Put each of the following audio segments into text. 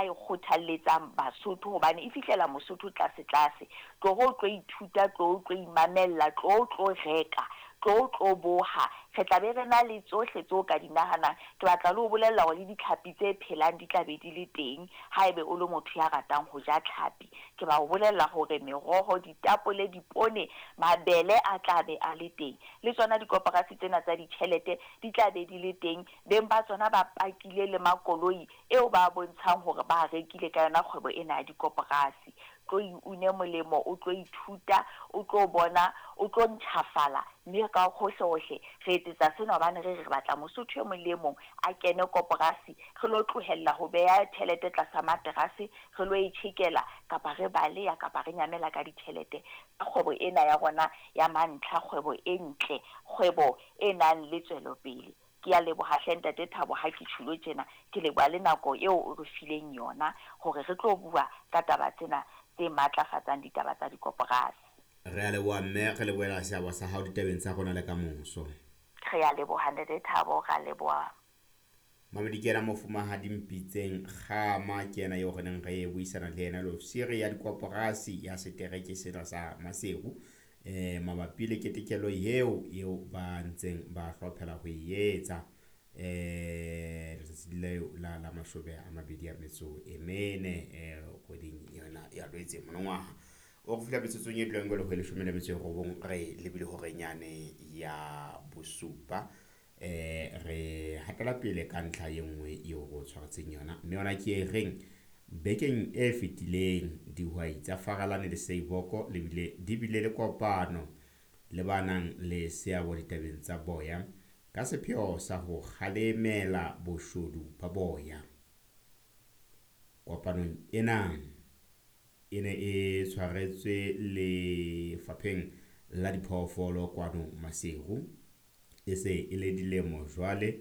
a e kgothalletsang Basotho hobane e fihlela Mosotho tlase-tlase. Tloho o tlo ithuta, tloho o tlo imamella, tloho o tlo reka, tloho o tlo boha. Re tla be re na le tsohle tseo o ka di nahanang. Ke batla le ho bolella hore le ditlhapi tse phelang di tla be di le teng haebe o le motho ya ratang ho ja tlhapi. Ke ba o bolella hore meroho, ditapole, dipone, mabele a tla be a le teng. Le tsona dikoporasi tsena tsa ditjhelete di tla be di le teng. Beng ba tsona ba pakile le makoloi eo ba bontshang hore ba rekile ka yona kgwebo ena ya dikoporasi. Tlo iune molemo, o tlo ithuta, o tlo bona, o tlo ntjhafala, mme ka hohle-hohle re etsetsa sena hobane re re batla Mosotho e mong le e mong a kene koporasi, re lo tlohella ho beha tjhelete tlasa materase, re lo e tjhekela kapa re baleya kapa re nyamela ka ditjhelete. Ka kgwebo ena ya rona ya mantlha, kgwebo e ntle, kgwebo e nang le tswelopele. Ke a leboha hle Ntate Thabo ha ke tjhulo tjena, ke leboha le nako eo o re fileng yona hore re tlo bua ka taba tsena tse matlafatsang ditaba tsa dikoporasi. Re a leboha mme re lebohela seabo sa hao ditabeng tsa rona le ka moso. Re a leboha Ntate Thabo, re a leboha. Mamedi ke yena mofumahadi Mpitseng Kgama, ke yena eo re neng re buisana le yena le ofisiri ya dikoporasi ya setereke sena sa Maseru mabapi le ketekelo eo eo ba ntseng ba hlophela ho e etsa letsatsi leo la la 24 kgweding yona ya Lwetse monongwaha. O re fihla metsotsong e dulang jwale ho 19 re lebile hore nyane ya bosupa. Re hatela pele ka ntlha e nngwe eo re o tshwaretseng yona, mme yona ke e reng bekeng e fetileng dihwai tsa Faralane le Seiboko le bile di bile le kopano le ba nang le seabo ditabeng tsa boya ka sepheo sa ho kgalemela boshodu ba boya. Kopanong ena e ne e tshwaretswe lefapheng la diphoofolo kwano Maseru. E se e le dilemo jwale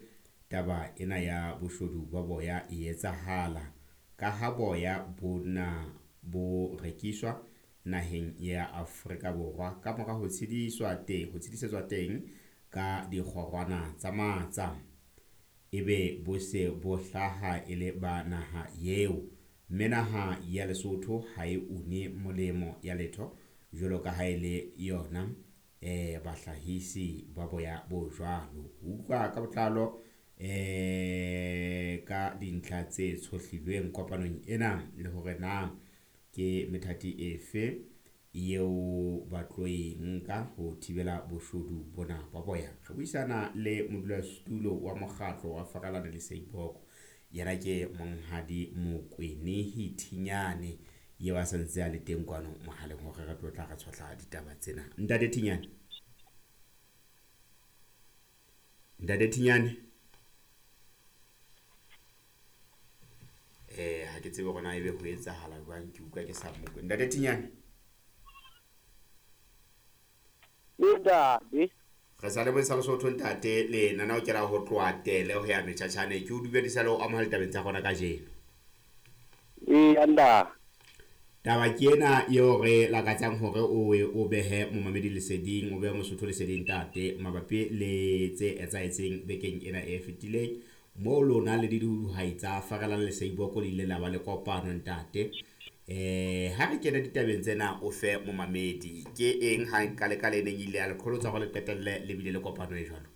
taba ena ya boshodu ba boya e etsahala, ka ha boya bona bo rekiswa naheng ya Afrika Borwa ka mora ho tshediswa teng, ho tshedisetswa teng ka dikgorwana tsa matsa, ebe bo se bo hlaha e le ba naha eo, mme naha ya Lesotho ha e une molemo ya letho jwalo ka ha e le yona bahlahisi ba boya bo jwalo. Ho utlwa ka botlalo ka dintlha tse tshohlilweng kopanong ena le hore na ke methati efe eo ba tlo e nka ho thibela boshodu bona ba boya. Re buisana le modulasetulo wa mokgatlo wa Faralane le Seiboko, yena ke Monghadi Mokwenehi Thinyane, eo a santse a le teng kwano mohaleng hore re tlo tla re tshohla ditaba tsena. Ntate Thinyane, Ntate Thinyane, ha ke tsebe hore na ebe ho etsahala jwang, ke utlwa ke sa mokwe. Ntate Thinyane, Ntate re sa le bontsha Lesotho ntate, le nana o kena ho tloha tele ho ya metjhatjhane. Ke o dumedisa le ho amohela ditabeng tsa rona kajeno. Ee, nda. Taba ke ena eo re lakatsang hore o behe momamedi leseding, o behe Mosotho leseding ntate, mabapi le tse etsahetseng bekeng ena e fetileng moo lona le dihwai tsa Faralane le Seiboko le ile la ba le kopano ntate. Ha re kena ditabeng tsena o fe momamedi ke eng ha ka le ka le neng ile ya le qholotsa hore le qetelle le bile le kopano e jwalo?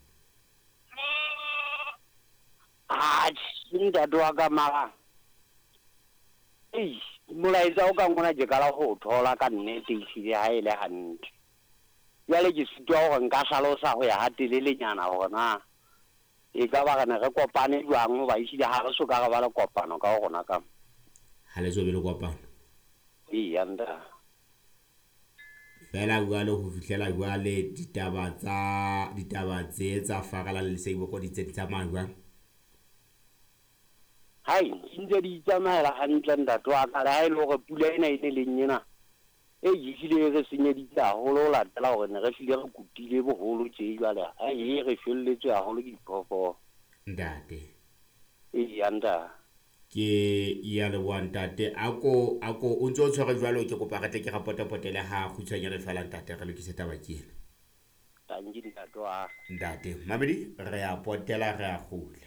Atjhe, ntate wa ka mara ei, molaetsa o ka ngona ke qala ho thola ka nnete ehlile ha e le hantle. Jwale ke sitwa hore nka hlalosa ho ya ha telelenyana hore na e ka ba re ne re kopane jwang, hoba ehlile ha re so ka re ba le kopano ka ho rona ka. Ha le so be le kopano? Eya, ntate. Fela jwale ho fihlela jwale ditaba tsa ditaba tse tsa Faralane le Seiboko di tse di tsamaya jwang? Hai, di ntse di itsamaela hantle ntate wa ka, le ha e le hore pula ena e ne leng ena e ehlile e re senyeditse haholo ho latela hore ne re hlile re kutile boholo tje jwale, ai e re felletswe haholo ke diphoofolo. Ntate. Eya, ntate. Ke ya leboha ntate. Ako o ntse o tshwere jwalo, ke kopa re tle ke re potepotele ha kgutshwanyane fela ntate, re lokise taba ke ena. Tanki ntate wa. Ntate, mamedi re a potela re a kgutla.